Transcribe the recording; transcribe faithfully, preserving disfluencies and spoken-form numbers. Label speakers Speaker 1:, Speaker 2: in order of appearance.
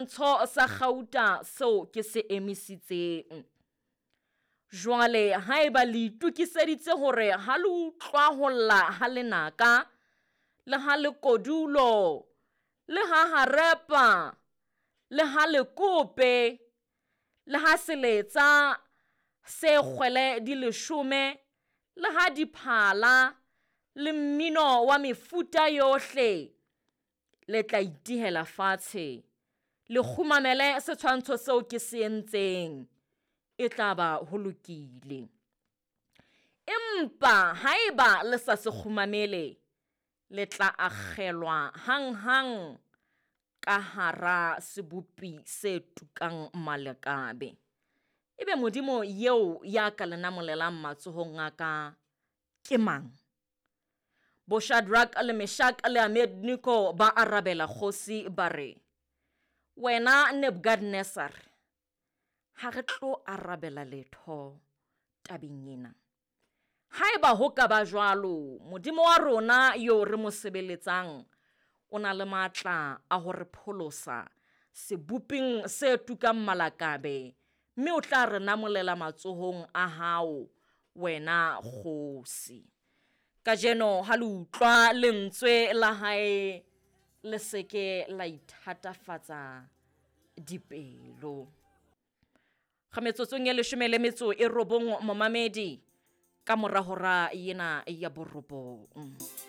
Speaker 1: Ntsho sa kgauta seo ke se emisitseng. Jwale haeba le itokiseditse hore ha le utlwa ho lla ha lenaka, le ha lekodulo, le ha harepa, le ha lekope, le ha seletsa se kgwele di leshome, le ha diphala, le mmino wa mefuta yohle, le tla itihela fatshe, le kgumamele setshwantsho seo ke se entseng, e tla ba ho lokile. Empa haeba le sa se kgumamele, le tla akgelwa hanghang ka hara sebopi se tukang malakabe. Ebe Modimo eo ya ka le namolelang matsohong a ka ke mang? Bo-Shadrack le Meshak le Abednego ba arabela kgosi ba re, wena Nebukadnezar, ha re tlo arabela letho tabeng ena. Haeba ho ka ba jwalo, Modimo wa rona yo re mo sebeletsang o na le matla a ho re pholosa seboping se tukang malakabe, mme o tla re namolela matsohong a hao wena kgosi. Kajeno ha le utlwa lentswe la hae, le se ke la ithatafatsa dipelo. Ga metsotsong e leshome le metso e robong momamedi ka mora hora ena ya borobong.